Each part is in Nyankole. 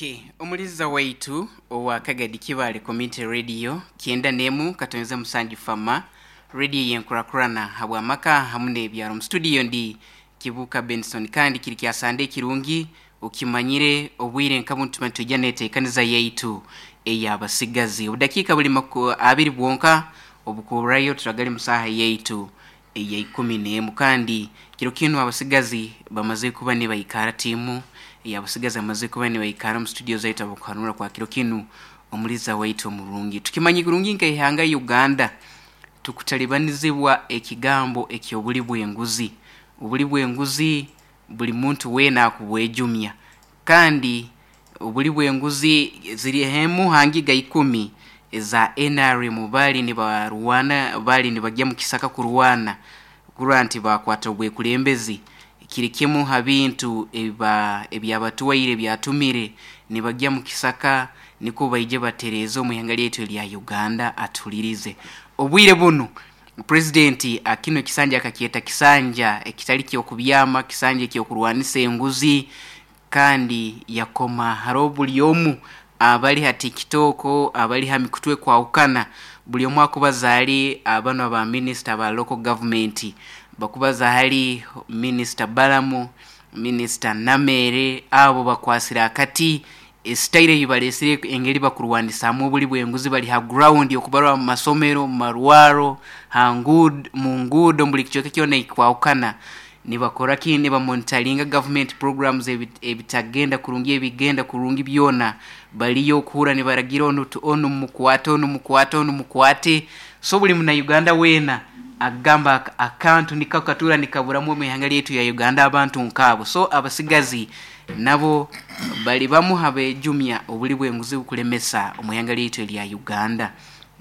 Okay, omuliza waitu owa Kagadi Kibale Community Radio 91 katonze musanju fama radio yenkurakurana habwamaka hamu n'ebyaro. Mu studio ndi Kibuka Benson, kandi kiri kya Sande kirungi ukimanyire obwire nka buntu tujya netekaniza yaitu ey'abasigazi. Obudakiika buli 20 bwonka obukurayo turagali musaha yaitu eya 11, kandi kiro kinu abasigazi bamaze kuba nibaikara, tiimu ey'abasigazi bamaze kuba nibaikara mu studio zaitu abakuhanura kwa kiro kinu omuliza waitu omurungi. Tukimanyi kurungi nk'eihanga Uganda tukutalibanizibwa ekigambo eky'obuli bw'enguzi. Obuli bw'enguzi buli muntu weena akubwejumya, kandi obuli bw'enguzi ziri hemu hangiga 10 eza NRM bali nibarwana, bali nibagya mu kisaka kurwana kurwa nti bakwata obwekulembezi. Kiri kimu ha bintu ebyabatuwaire byatumire nibagya mu kisaka niko baije batereze omu ihanga lyaitu erya Uganda. Atulirize obwire bunu president akino kisanja akakyeta kisanja ekitali kyokubyama, kisanja ekyokurwanisa enguzi, kandi yakoma haro buli omu abali ha TikTok, abali ha mikutu ekwahukana, buli omu akubaza hali abano aba minister ba local government, bakubaza hali Minister Balamu, Minister Namere, abo bakwasira akati esitaire eyibalesire engeri bakurwanisamu obuli bw'enguzi. Bali ha ground okubarwa mu masomero, mu marwaro, mu nguudo, buli kicweka kyona ekikwahukana nibakora ki, nibamonitaringa government programs ebitagenda kurungi, ebigenda kurungi byona baliyo okuhura nibaragira onu onu mukwate, onu mukwate, onu mukwate. So buli muna Uganda weena agamba akantu niko katura nikaburamu omu ihanga lyaitu ya Uganda abantu nkaabo. So abasigazi nabo bali bamu habejumya obuli bw'enguzi bukulemesa omu ihanga lyaitu erya Uganda.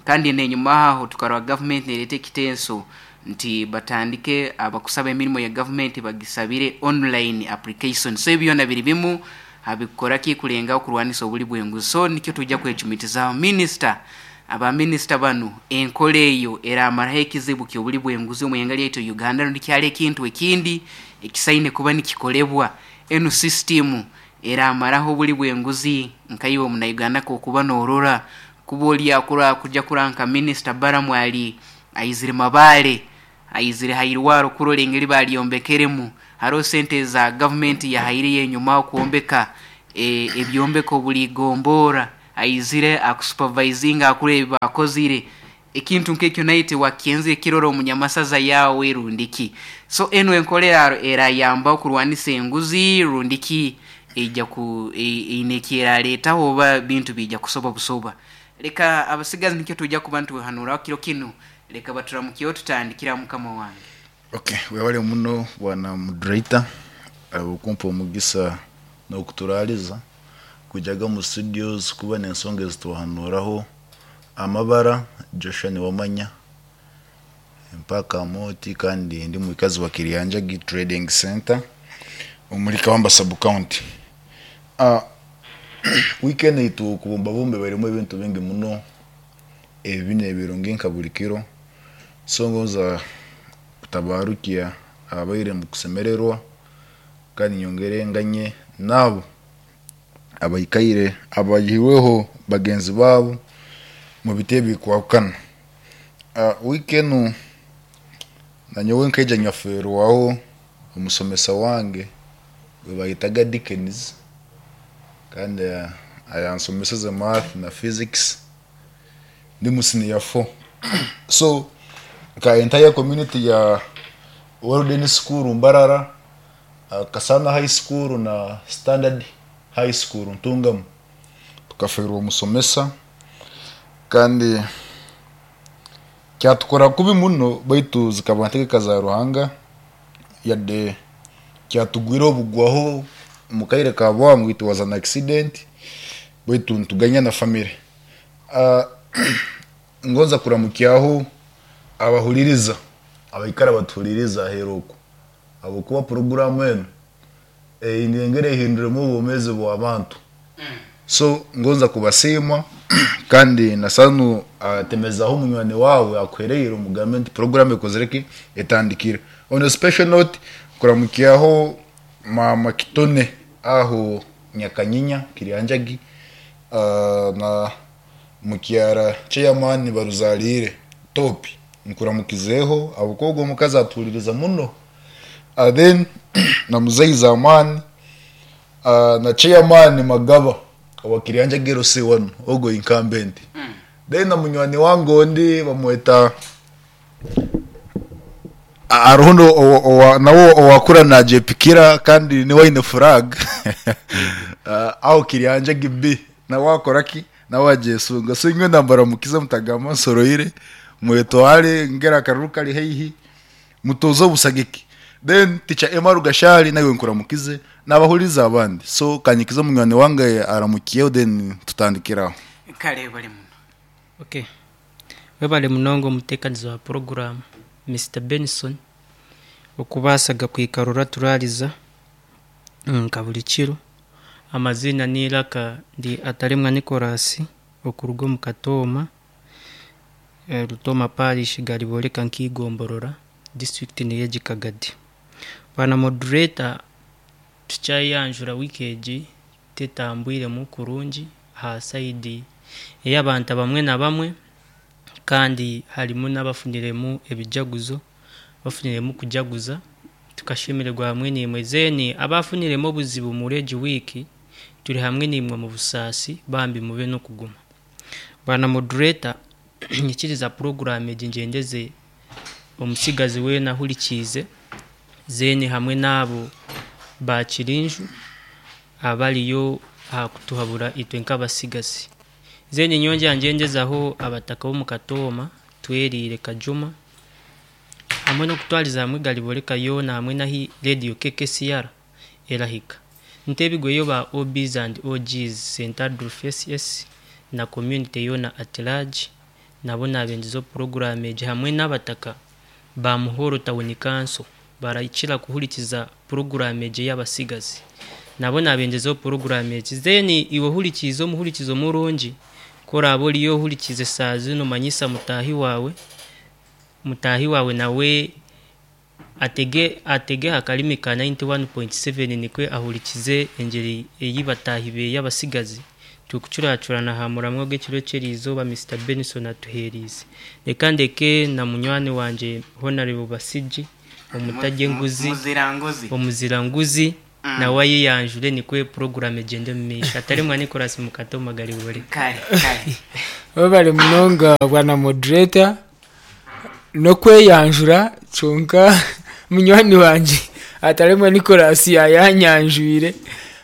Kandi n'enyuma aho tukarora government nereeta ekitenso nti batandike abakusaba emirimo ya government bagisabire online application. So ebyo byona biri bimu habikora ki kulenga okurwanisa obuli bw'enguzi. So nikyo tujja kwecumitizaho minister, aba minister banu enkola eyo eramaraho ekizibu ky'obuli bw'enguzi omu ihanga lyaitu Uganda, rundi kyali ekintu ekindi ekisaine kuba nikikolebwa. Enu system eramaraho obuli bw'enguzi nkaiwe omuna Uganda kokuba norora kuba oli akura kuja kuranka Minister Balamu ali aizire Mabale, aizire hairwaro kurora engeri balyombekeremu, hariho sente za government yahaire yenyuma okwombeka ebyombeko buli gombora, aizire akusupervisinga akura ebi bakozire. Ekintu nk'ekyo naye tiwakyenzire kirora omunyamasaza yawe rundiki. So enu enkola erayamba okurwanisa enguzi rundiki eija ku eine ekyeraleetaho oba bintu biija kusoba busoba. Leka abasigazi nikyo tujja kuba nituhanuraho kiro kinu, leka baturamukireho tutandikira mukama wange. Okay, webale muno bwana moderator okumpa omugisa n'okuturaliza kujaga mu studios kuba n'ensonga ezituhanuraho. Amabara Joshua Niwamanya mpaka moti, kandi ndi mwikazi wa Kiryanjagi Trading Center omuri Kawamba sub county. Weekend eitu okubumbabumba ebairemu ebintu bingi muno ebibi n'ebirungi nka buri kiro, so ngonza kutabarukya ababaire mukusemererwa, kandi nyongere nganye naabo abaikaire abaihirweho bagenzi baabo mu biti ebikwahukana. Wiiki enu nanyowe nkaija nyaferwaho omusomesa wange gwe bayetaga Dickens, kandi ayansomeseze math na physics ndi mu senior 4. So nka entire community ya Walden School Mbarara, Kasana High School na Standard High School Ntungamu, tukaferwa omusomesa, kandi kyatukora kubi muno, baitu zikaba ntegeka za Ruhanga. Yadde kyatugwire obugwaho omu kaire ka bwangu, it was an accident, baitu nituganya na family. Ngonza kuramukyaho abahuririza abaikara batuhuririza aheeru oku, habwokuba puroguramu enu eine engeri ehinduremu obwomeezi bw'abantu. So ngonza kubasiima, kandi na sanu atemezaho munywani waawe akuhereire, omugambe nti puroguramu ekozire ki, etandikire. On a special note, kuramukyaho maama Kitone aho. Nyakanyinya Kiryanjagi na mukyara chairman Baruzariire Topi nkuramukizeho ahabw'okuba ogwo omukazi atuhuririza muno. Then na muzeyi Zamani na chairman Magaba owa Kiryanjagi LC1 ogwo incumbent. Then na munywani wange ondi bamweta hariho nawe owakura nagyepikira kandi niwe aine flag aho Kiryanjagi B nawe akora ki? Nawe agyesunga. So nyowe nambaramukize mutagamba nsoroire mwetware ngera akaruru kari haihi mutoze obusagiki. Then teacher Emma Rugashari naiwe nkuramukize nabahuririza abandi. So kanyikize munywani wange aramukiyeho then tutandikire aho. Kare bari muno. Ok. Webale munonga omuteekanizi wa puroguraamu Mister Benson okubaasaga kwikara oraturaariza nka buri kiro. Amaziina n'eiraka ndi Ataremwa Nicholas okuruga omu Katooma, Rutooma Parish Gariboreka nk'eigomborora, disiturikiti n'ey'egi Kagadi. Bwana moderator tukyayanjura wiiki egi tetambwiremu kurungi aha sayidi ey'abantu abamwe na bamwe kandi harimu n'abafuniremu ebijaguzo, abafuniremu kujaguza tukashemererwa hamwe naimwe. Then abafuniremu obuzibu omuri egi wiiki turi hamwe naimwe omu busaasi bambi mube n'okuguma. Bwana moderator nyikiriza puroguraamu egi ngyendeze omutsigazi weena ahurikiize then hamwe n'abo ba Kirinju abariyo aha kutuhabura itwe nk'abatsigazi. Then nyongyera ngyendezaho abataka b'omu Katooma, Tweriire, Kajuma hamwe n'okutwariza hamwe Gariboreka yoona hamwe n'ahi Radio KKCR erahika. Ntebigweyo ba OBs and OGs, St Adolf SS na community yoona at large nabo nabendizeho puroguraamu egi hamwe n'abataka ba Muhoro Town Council barakira kuhurikiza puroguraamu egi ey'abatsigazi nabo nabendezeho puroguraamu egi. Then iwe ohurikiize omuhurikizo murungi ku oraabe oriyo ohurikiize shaaha zinu manyisa mutaahi waawe, mutaahi waawe nawe atege atege aha karimi ka 91.7 nikwo ahurikize engyeri ei bataahi beye abatsigazi turikucuracurana aha muramwa gw'ekiro ky'eriizooba Mister Benson atuheeriize. Reka ndeke na munywani wangye Honarebo Basigi omutarya enguzi, Muziranguzi. omuziranguzi nawe ayeyanjure nikwo puroguraamu egyende omu maisho. Ataremwa Nicholas Mukatoma Garibore. Kare, kare. Webale munonga bwana moderator n'okweyanjura kyonka munywani wangye Ataremwa Nicholas yayanyanjwire.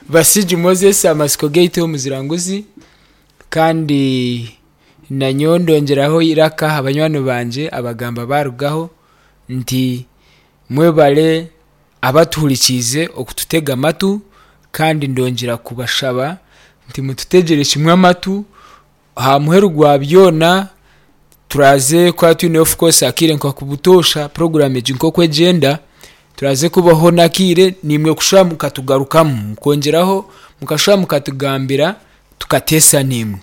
Basigi Moses amatsiko gaitu omuziranguzi kandi nanyowe ndongyeraho eiraka aha banywani bangye abagamba barugaho nti mwebare abatuhurikiize okututega amatu kandi ndongyera kubashaba nti mututegyere kimwe amatu aha muheru gwa byona turaze kuba twine of course akaire nka butoosha puroguramu egi nk'oku egyenda turaze kubaho n'akaire naimwe kushuba mukatugarukamu mukongyeraho mukashuba mukatugambira tukateesa naimwe.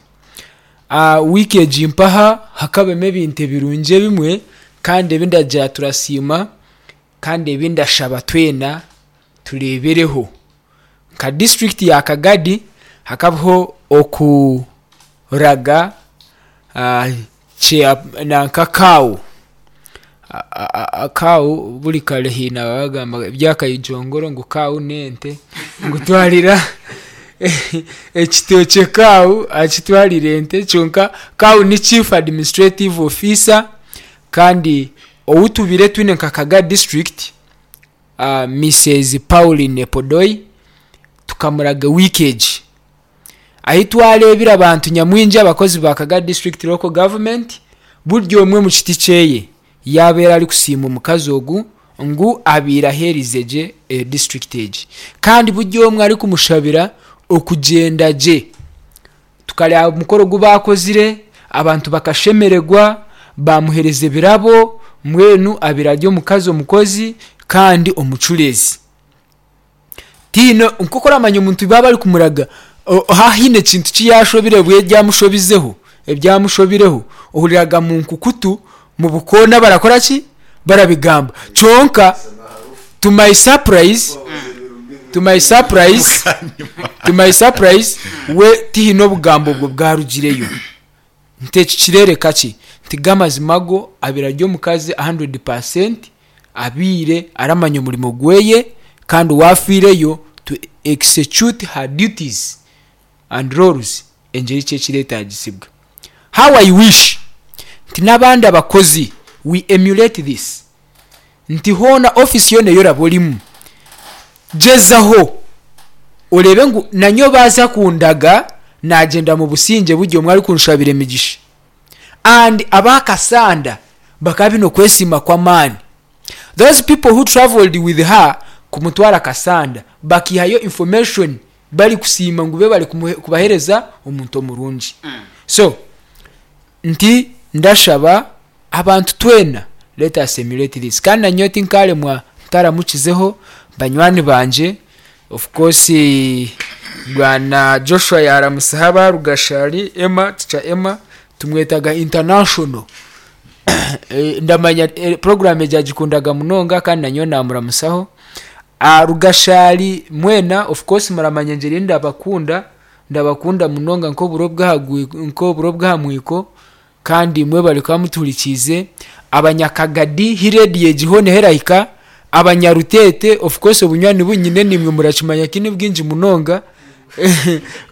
Wiiki egi mpaha hakabamu ebintu ebirungi ebimwe kandi ebi ndagira turasiima kandi ebi ndashaba twena tureebereho. Nka disiturikiti ya Kagadi hakabaho okuraga nanka CAO, CAO buri kare haine abagamba ebyakayijongoro ngu CAO n'ente ngu twarira ekitookye CAO akitwarira ente kyonka CAO ni Chief Administrative Officer kandi ou tubaire twine nka Kagadi disiturikiti Mrs Pauline Epodoi tukamuraga wiiki egi ahu twareebire abantu nyamwingi abakozi ba Kagadi District Local Government buri omwe omu kiti kyeye yaabeire arikusiima omukazi ogu ngu abaire aheerize gye disiturikiti egi kandi buri omwe arikumushabira okugyenda gye. Tukareeba omukoro ogu baakozire, abantu bakashemererwa, baamuheereza ebirabo, mbwenu abaire ari omukazi omukozi kandi omucureezi. Tihaine nk'oku oramanya omuntu baaba barikumuraga haaba haine ekintu eki yaashobire bwe ebyamushobizeho, ebyamushobireho, ohuriraga mu nkukutu, mu bukoona barakora ki? Barabigamba. Kyonka to my surprise. To my surprise, to my surprise, we tihaine obugambo obwo bwarugireyo. Nti eki kirereka ki? Nti g'amazima go abaire ari omukazi 100% abaire aramanya omurimo gweye kandi wafiireyo to execute her duties and roles engyeri ki ekiretaagisibwa. How I wish nti n'abandi abakozi we emulate this nti hoona office yoona ei oraba orimu gyezaho oreebe ngu nanye baaza kundaga naagyenda mu busingye buri omwe arikunshabira emigisha and aba Kassanda bakaba baine okwesiima kw'amaani. Those people who travelled with her kumutwara Kassanda bakaihayo information barikusiima ngu bebare kubahereza omuntu omurungi. So nti ndashaba abantu twena let us emulate this kandi nanyowe tinkaremwa ntaramukizeho banywani bangye of course bwana Joshua yaramutsiho aba Rugashari Emma teacher Emma tumwetaga international ndamanya program egi agikundaga munonga kandi nanyowe namuramusaho. Rugashari mwena of course muramanya engyeri ei ndabakunda, ndabakunda munonga nk'oburo nk'oburo bw'aha mwiko kandi mwebare kuba mutuhurikiize. Abanyakagadi hi reediyo egi hoona ahu erahika, abanyaruteete of course obunywani bu nyine naimwe murakimanya ki ni bwingi munonga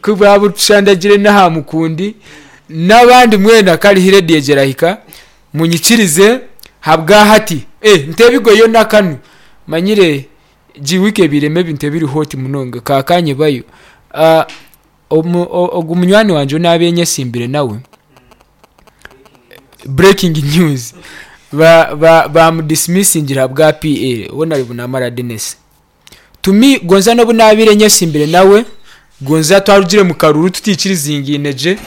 ku bwabutushandagire n'aha mukundi n'abandi mwena kare hi reediyo egi erahika. Munyikirize habwahati. Eh, ntebigoyo nakanu. Manyire egi wiiki ebairemu ebintu ebiri hot munonga. Kakanyebayo. Ah, omu, ogu munywani wangye ou naabaire nyesimbire nawe, breaking news, ba, ba, baamudismisingire ahabwa PL, Honourable Namara Denis. To me, gonza n'obu naabaire nyesimbire nawe, gonza twarugire mu karuuru tutaikirizingaine gye,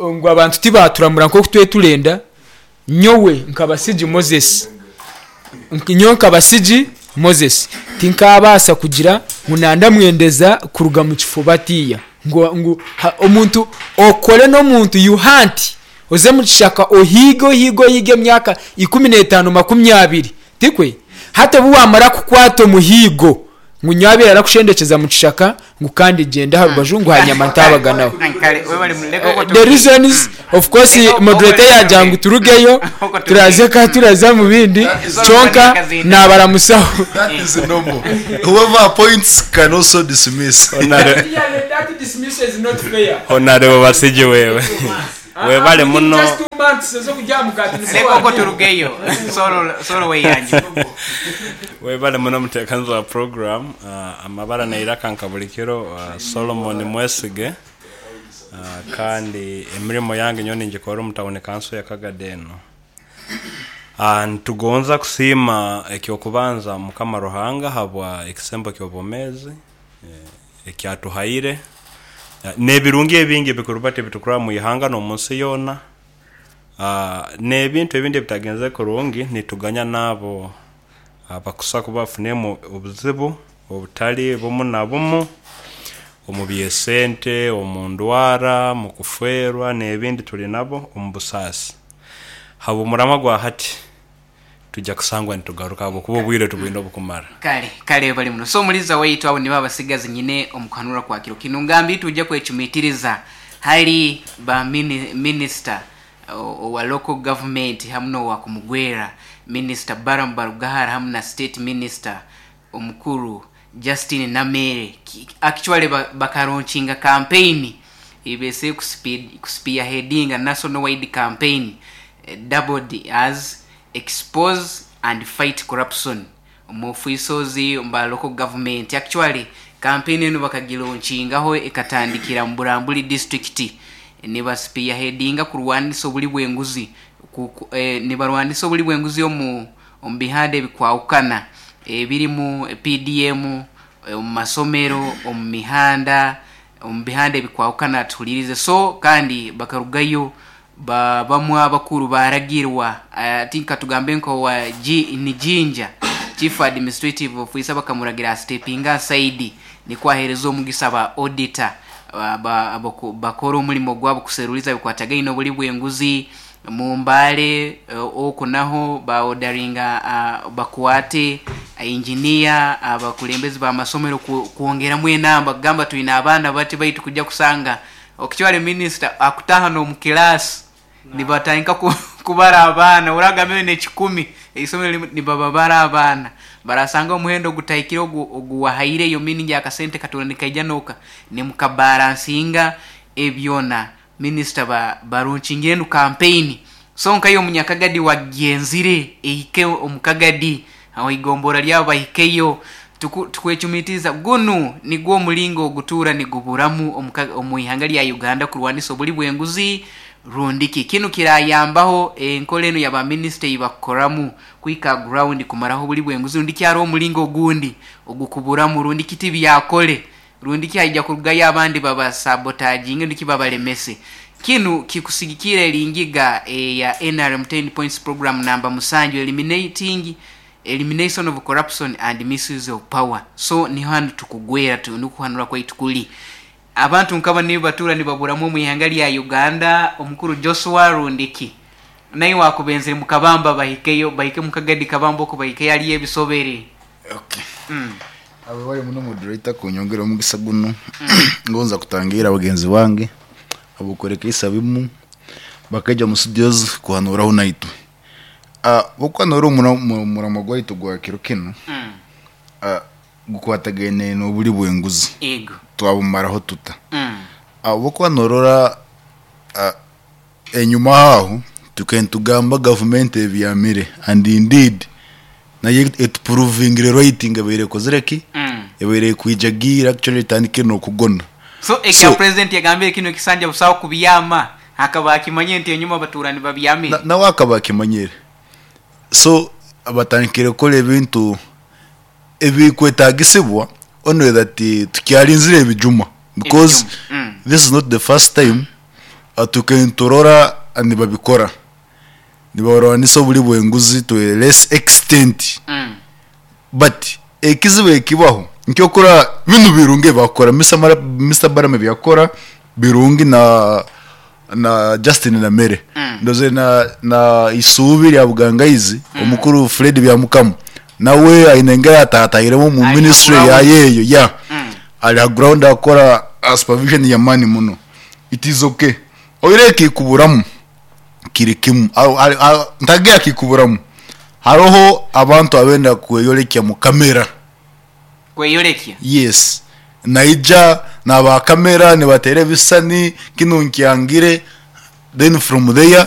ngu abantu tibaturamura nk'oku twari turenda, nyowe nka Basigi Moses, nyowe nka Basigi Moses, tinkaabaasa kugira ngu nandamwendeza kuruga mu kifo batiiya. Ngu, ngu omuntu okore n'omuntu you hunt, oze mu kishaka ohiige ohiige ohiige emyaka 15, 20, tikwe? Hati obu waamara kukwata omuhiigo, Ngu nyowe abaire arakushendekyeza mu kishaka ngu kandi gyenda aha rubaju ngu hanyama ntaabaganaho. The reasons of course moderator yaagira ngu turugeyo turaze ka turaza omu bindi kyonka naabaramusaho. That is normal. Whoever appoints can also dismiss. Honarebo Basigi wewe webale muno. Leka okwo turugeyo Solo weyanjure. Webale muno muteekaniza wa program. Amabara neiraka nka buri kiro Solomon Mwesige kandi emirimo yange nyowe ningikora omu tawuni kanso ya Kagadi enu. Nitugonza kusiima ekyokubanza Mukama Ruhanga habwa ekisembo ky'obwomeezi eki atuhaire n'ebirungi ebingi ebikuruba ebitukurora omu ihanga n'omu nsi yoona. N'ebintu ebindi ebitagenzere kurungi nituganya n'abo abakusa kuba bafuniremu obuzibu obutali bumu na bumu omu by'esente, omu ndwara, mu kufeerwa n'ebindi tuli nabo omu busaasi. Habw'omuramwa gwa hati, twija kusangwa nitugaruka habwokuba obwire tubwine obukumara. Kale, kale webale muno. So omuliza waitu abo nibo abasigazi nyine omu kuhanura kwa kiro kinu. Ngambi itwija kwecumitiriza hali ba mini, minister owa local government hamu n'owa kumugwera minister Balaam Barugahara hamu na state minister omukuru Justine Nameere. Actually bakalaunchinga campaign eibese kuspearheadinga national wide campaign doubled as expose and fight corruption omu officials omu ba local government. Actually campaign enu bakagilaunchingaho ekatandikira mu Bulambuli district niba spearheadinga kurwanisa obuli bw'enguzi nibarwanisa obuli bw'enguzi omu omu bihanda ebikwahukana ebirimu PDM, omu masomero, omu mihanda, omu bihanda ebikwahukana tuhuriirize. So kandi bakarugayo ba bamwe abakuru baaragirwa I think katugambe nka owa G ni Jinja Chief Administrative Officer bakamuragira astepinge aside nikwo aheereze omugisa ba auditor ba bakore omurimo gwabo kuseruriza ebikwatagaine oburi bw'enguzi Mu Mbale okwo naho ba odaringa bakwate Engineer, abakulembezi b'amasomero kwongeramu enamba kugamba twine abaana bati baitu kujja kusanga okitware minisita akutaha n'omu kilaasi nibatandika kubara abaana oragambire n'ekikumi eisomero nibababara abaana barasanga omuhendo ogutahikire ogu oguwahaireyo meaning akasente katono nikaija noka nimukabaransinga ebyona minisita ba baronkingire enu kampeyini so nkayo omunyakagadi wagyenzire ehike omu kagadi aho eigombora ryabo bahikeyo. Tukwecumitiriza gunu nigwo omuringo ogutuura niguburamu omu ihanga rya Uganda kurwanisa oburi bw'enguzi rundi ki. Kinu kirayambaho enkora enu ya ba minisita ei bakukoramu kuhika aha ground kumaraho oburi bw'enguzi rundi ki hariho omuringo ogundi ogukuburamu rundi ki tibyakore rundi ki haija kurugayo abandi baba sabotaginge rundi ki babaremese. Kinu kikusigikirra eri ngiga eya nrm Ten Points Program namba musanju Eliminating Elimination of Corruption and Misuse of Power. So niho hanu tukugwera nikwo kuhanura kwaitu kuri. Abantu nkaba nibo batuura nibaburamu omu ihanga rya Uganda omukuru Joshua rundi ki naiwe wakubenzire mukabamba bahikeyo bahike mukagadi kabamba oku bahikeyo hariyo ebisobere. Okay. Webale muno moderator kunyongera omugisa gunu ngonza kutangira bagenzi bange abokwereka isabimu bakaija mu studios kuhanuraho naitwe. Obu noora omuramwa gwaitu gwa kiro kinu gukwatagaine n'oburi bw'enguzi, twabumaraho tuta? Obu okuba noorora enyima aho tukaire nitugamba gavumenti ebyamire and indeed nayo etupuruvingire right ngu ebaire ekozire ki? Ebaire ekwija giira actually etandikire n'okugona. So ekya president yagambire kinu ekisanja busaho kubyama Akaba akimanyire nti enyuma batuura nibabyamire. Nawe akaba akimanyire. So batandikire kukora ebintu ebikwetagisibwa only that tukyarinzire ebijuma because this is not the first time tukaire niturora nibabikora. Nibarwanisa oburi bw'enguzi to a less extent but ekizibu ekibaho nikyo okura binu birungi ebi bakukora Mister Balaam ebi yakukora birungi na na Justin Namere ndozire na na isuubi rya Bugangaizi omukuru Fred Byamukama nawe aine engeri ataatairemu omu Ari ha ministry ground. yaye eyo yeah ari ha ground akukora supervision y'amaani muno it is okay oihireho ekikuburamu kiri kimu ntagira kikuburamu haroho abantu abenda kweyorekya mu kamera. Kweyorekya? Yes naija naba kamera nibatera ebisisani kinu nkyangire then from there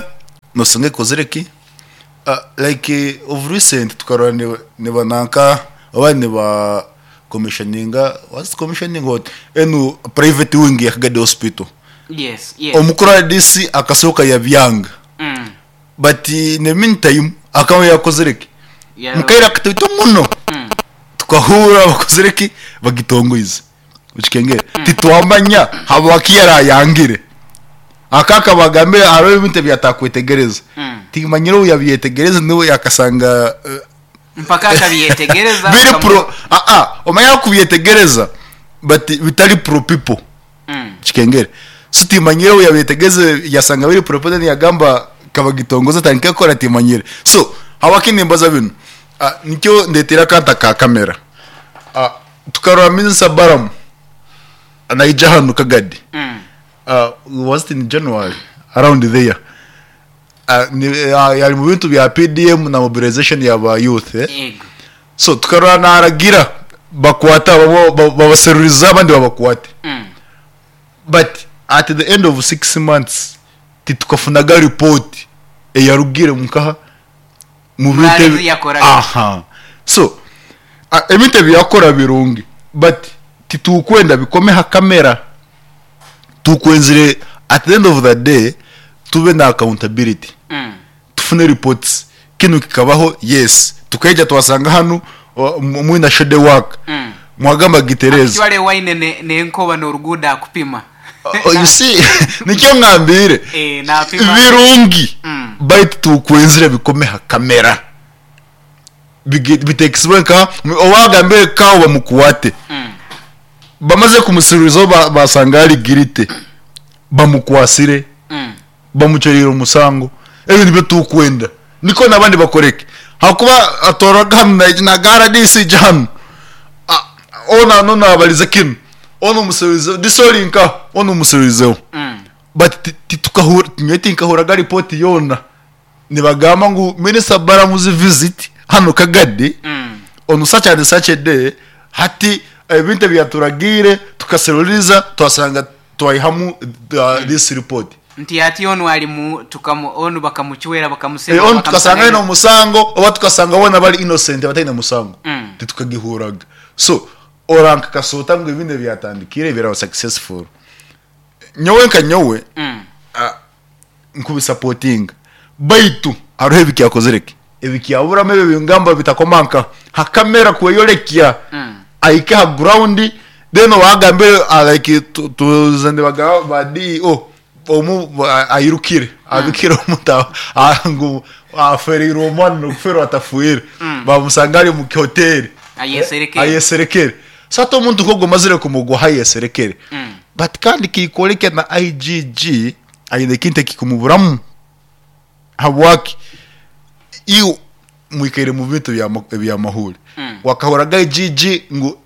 nosanga ekozire ki like of recent tukarora niba nanka oba niba commissioninga was it commissioning or what enu private wing ya Kagadi hospital. Yes, yes. Omukuru RDC akasooka yabyanga but in the meantime akaba yakozire ki? Mukaire akataito muno tukahurra bakozire ki? Bagitongoize. Okikengere? Titwamanya habwaki yarayangire. Aka akabagambira hariho ebintu ebi atakwetegereza. Timanyire obu yabyetegereza niwe yakasanga Mpaka akabyetegereza biri akamu- pro aa omanye akubyetegereza but bitari pro people. Kikengere. So timanyire obu yabyetegeze yasanga biri proper then yagamba kabagitongoze atandike kukora timanyire. So habwaki nimbaza binu? Nikyo ndetire akanta ka camera. Tukarora Minister Balaam naija hanu Kagadi. Was it in January? Around there. Yari mu bintu bya PDM na mobilization ya ba youth. Yego. So tukarora naragira bakwata babaseruriza abandi babakwate. But at the end of 6 months titukafunaga report eyarugire nkaha mu bintu Murarizi yakoraga. Aha. So ebintu ebi yakora birungi but titukwenda bikome ha kamera. Tukwenzire at the end of the day tube na accountability. Tufune reports kinu kikabaho yes tukaija twasanga hanu mwina shade work mwagamba gitereza. Actually waine nenkoba norugudo akupima. Oh, you see nikyo ngambire Napima. Birungi baitu tukwenzire bikome ha kamera bitekisibwe nka owagambire kawo bamukwate. Bamaze kumusirurizaho basanga ari girite bamukwasire bamucerire omusango. Ebyo nibyo tukwenda niko nabandi bakoreke. Hakuba atororaga hanu naija naga RDC ija hanu. Onu hanu nabarize kinu, onu omusubizeho, this ori nkaha, onu omusubizeho. But titukahurira, nyowe tinkahuriraga report yoona nibagamba ngu Minister Balamu's visit hanu Kagadi on such and such a day, hati ebintu ebi yaturagiire tukaseruriza twasanga twaihamu this report. Nti hati onu ari mu tukamu onu bakamucwera bakamusema Onu tukasanga bakamusanga aine omusango oba tukasanga boona bari innocent bataine musango titukagihurraga. So oranka kasota ngu ebindi ebyatandikire biraba successful. Nyowe nka nyowe nkubisapotinga baitu hariho ebikyakozire ki ebikyaburamu ebyo ebingamba bitakoma nka ha camera kweyorekya ahike ha ground then owagambire like tuze nibagamba ba DEO omu airukire abikire omuntu ngu afereirwe omwana nokufeerwa atafiire bamusanga ari omu hoteri Ayeserekere. Ayeserekere. So hati omuntu nk'ogwo omazire kumugwaho ayeserekere. But kandi kikworeka na IGG aine ekintu ekikumuburamu. Habwaki? Iwe mwikaire mu bintu eby'amahuure. Wakahurraga IGG ngu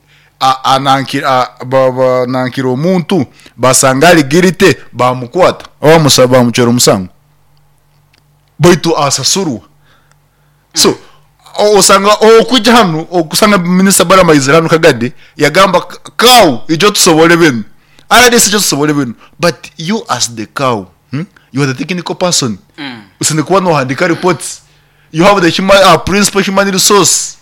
anankire omuntu basanga ari guilty bamukwata oba bamucwera omusango? Baitu asasurwa. So osanga okwija hanu okusanga Minisita Balaam aizire hanu Kagadi yagamba cow ijo tusobole binu, RDC ijo tusobole binu but you as the cow you are the technical person osine kuba nohandika reports you have the human, principal human resource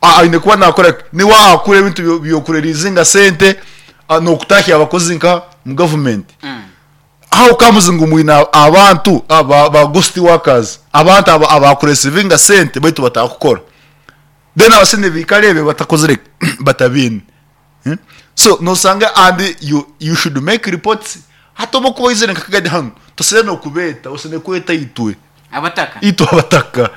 aine kuba nakora ki? Niwe akura ebintu byokurelizinga sente nokutahya abakozi nka mu government. How comes ngu mwine abantu aba ba ghost workers, abantu aba abakuresivinga sente baitu batakukora. Then abasente baikara ebyo batakozire ki? Batabiine. So nosanga and you, you should make reports hati obu okuba oizire nka Kagadi hanu toseine nokubeeta, oseine kweta itwe. Abataka. Itwe abataka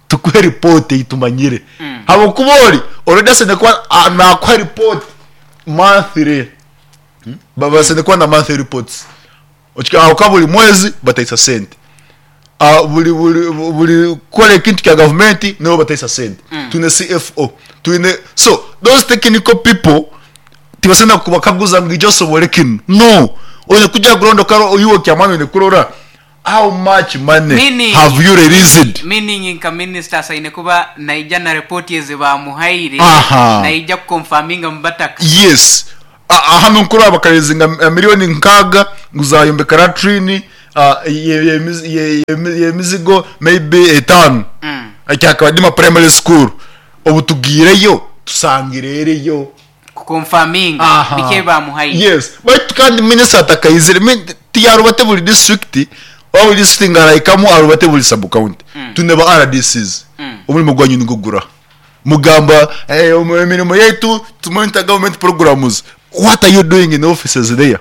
tukuhe report ei tumanyire. Habwokuba ori already aseine kuba nakuha report monthly. Babaasa kuba na monthly reports ahabw'okuba buri mwezi bataisa sente. Buri buri buri kukora ekintu kya gavumenti nibo bataisa sente. Twine CFO, twine so those technical people tibasobola kubakaguza ngu ija osobore kinu. No, oine kugya ground okarora iwe kyamaani oine kurora how much money Meaning, have you released. meaning nka minister asaine kuba naija na report ezi bamuhaire Aha. naija ku confirminga mu bataka. Yes. Hanu nkuraba bakarezinga milioni nkaga ngu zayombeka latrine y'emizigo maybe etaano. Kyakabadima primary school. Obu tugiireyo tusangire eriyo. Ku confirminga biki ebi bamuhaire. Yes. Baitu kandi minisita atakaizire tiyarubate buri district oba buri district ngu arahikamu arubate buri sub county. Twine ba RDCs. Omurimo gwanyu nigwo guraha? Mugamba emirimo yaitu to monitor government programs. What are you doing in offices there?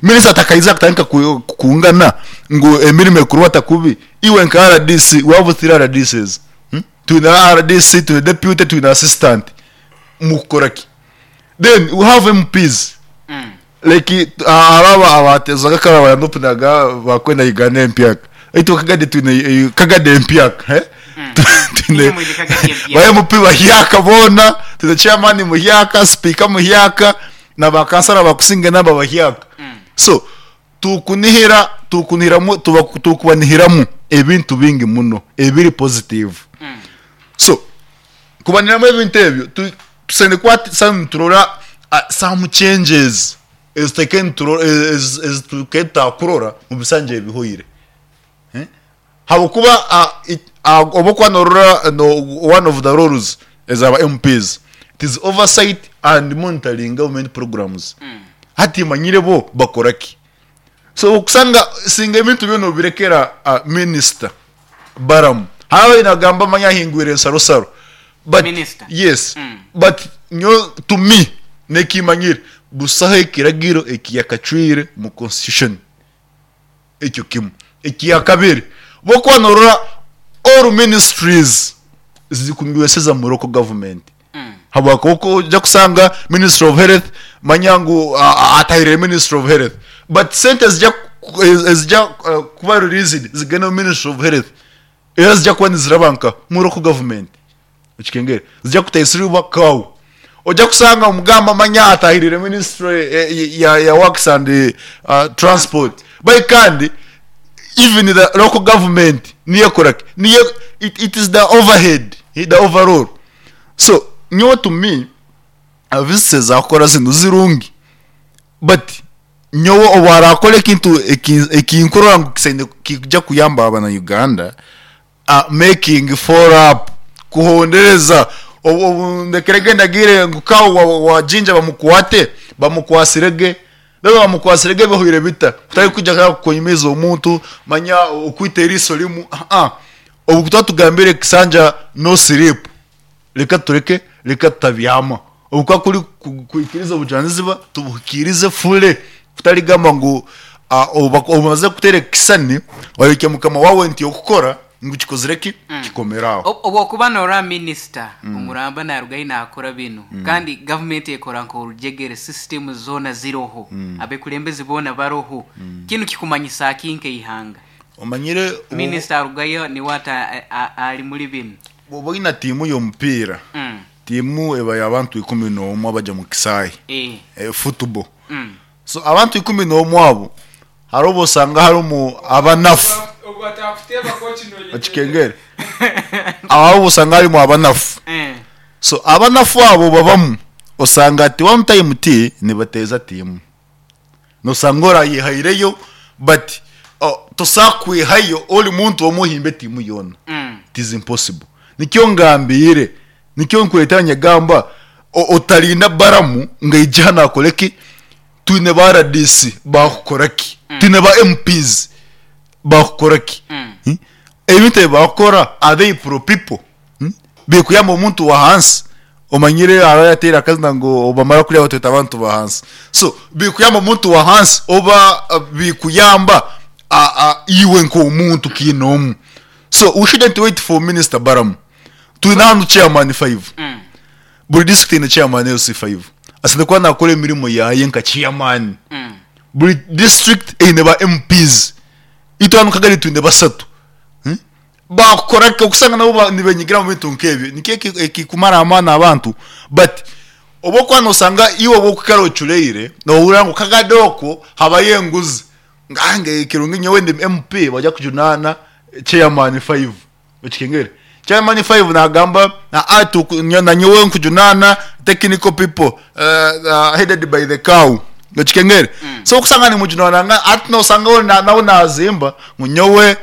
Minisita atakaija akatandika kukungana ngu emirimo ekurwata kubi. Iwe nka RDC, we have three RDCs. Twine RDC, twine deputy, twine assistant. Mukukora ki? Then we have MPs. Like hariho abatezaga kare abayanopinaga bakwenda Uganda empyaka. Itwe Kagadi twine Kagadi empyaka. Twine Inywe mwine Kagadi empyaka. ba MP bahyaka boona, twine chairman muhyaka, speaker muhyaka, na ba kansara abakusinga nabo bahyaka. So tukunihira tukunihiramu tuba tukubanihiramu ebintu bingi muno ebiri positive. So kubanihiramu ebintu ebyo tusaine kuba niturora some changes ezitukaire tutakurora omu bisanja ebihoire. Habwokuba obu okuba norora one of the roles eza ba MPs it is oversight and monitoring government programs. Hati manyire bo bakora ki? So okusanga singa ebintu byona obirekera minister Balaam. Hariho nagamba manya ahingwire ensarosaro. But Minister. yes, but nyowe to me nekimanyire busaho ekiragiro ekiyakacwire mu constitution. Ekyo kimwe. Ekyakabiri, bwokuba norora all ministries zikumiweseza mu local government. Habwakuba oja kusanga ministry of health manya ngu atahirire ministry of health. But sente ezija kuba released zigenda omu ministry of health. Era zija kuba niziraba nka mu local government. Okikengere? Zija kutaisiribwa kawo. Oja kusanga omugamba manya atahirire ministry ya, ya works and uh, transport. Bai kandi even the local government niyo ekora ki? Niyo it, it is the overhead, the overall. So nyowe to me visits ezakukora zinu zirungi but nyowe obu arakora ekintu ekinkurora ngu kisaine kija kuyamba abana Uganda making follow up kuhondereza obu ndekere ndagiire ngu cow wa Jinja bamukwate bamukwasire ge then bamukwasire ge bihweire bita kutari kwija kunyumiza omuntu manya okwita eriiso rimu aa obu tuba tugambire kisanja no sleep Reka tureke, reka tutabyama. Obu kuba kuri kuhikiiriza obujunanizibwa, tubuhikiirize fully kutarigamba ngu obu omazire kuteera ekishushani, wayokya mukama waawe nti okukora ngu kikozire ki? Kikomire aho. Obu okuba norora minisita omuramba naruga ahi nakora binu kandi gavumenti ekora nk'orujegere system zoona ziroho, abekulembezi boona baroho, kinu kikumanyisa ki nk'eihanga? Omanyire Minisita arugayo niwe ati ari muri binu. Bw'oba oine tiimu y'omupiira, tiimu eba y'abantu ikumi n'omwe abagya mu kisaayi, football. So abantu ikumi n'omwe abo, hariho obu osanga harimu abanafu, okikengere? Hariho obu osanga harimu abanafu. So abanafu abo babamu, osanga ati one time ti nibateeza tiimu. Nosanga orayehaireyo but tosobola kwehayo ori muntu omwe ohimbe tiimu yoona. It is impossible. Nikyo ngambiire, nikyo nkureetera nyagamba otarinda Balamu ngu aije hanu akore ki? Twine ba rdc baakukora ki? Twine ba MPs baakukora ki? Ebintu ebi baakukora are they pro people? Birikuyamba omuntu wa hansi? Omanyire hariho ayateire akazina ngu obamara kurya batweta abantu ba hansi. So birikuyamba omuntu wa hansi oba birikuyamba iwe nk'omuntu kiinoomu? So we shouldn't wait for Minister Balamu. Twine hanu chairman five. Buri district eine chairman LC five. Asaine kuba nakora emirimo yaye nka chairman. Buri district eine ba MPs. Itwe hanu Kagari twine basatu. Baakukora ki? Okusanga nabo nibenyigira omu bintu nk'ebyo nikyo ekikumara amaani abantu but obu okuba nosanga iwe obu okukara ocureire nohurira ngu kagade okwo habayo enguzi ngu ekirungi nyowe ndi MP baija kujunaana chairman five okikengere? Chairman five nagamba nanyowe nkujunaana technical people headed by the cow okikengere? So okusanga nimujunaanangana hati nosanga nawe nazimba ngu nyowe.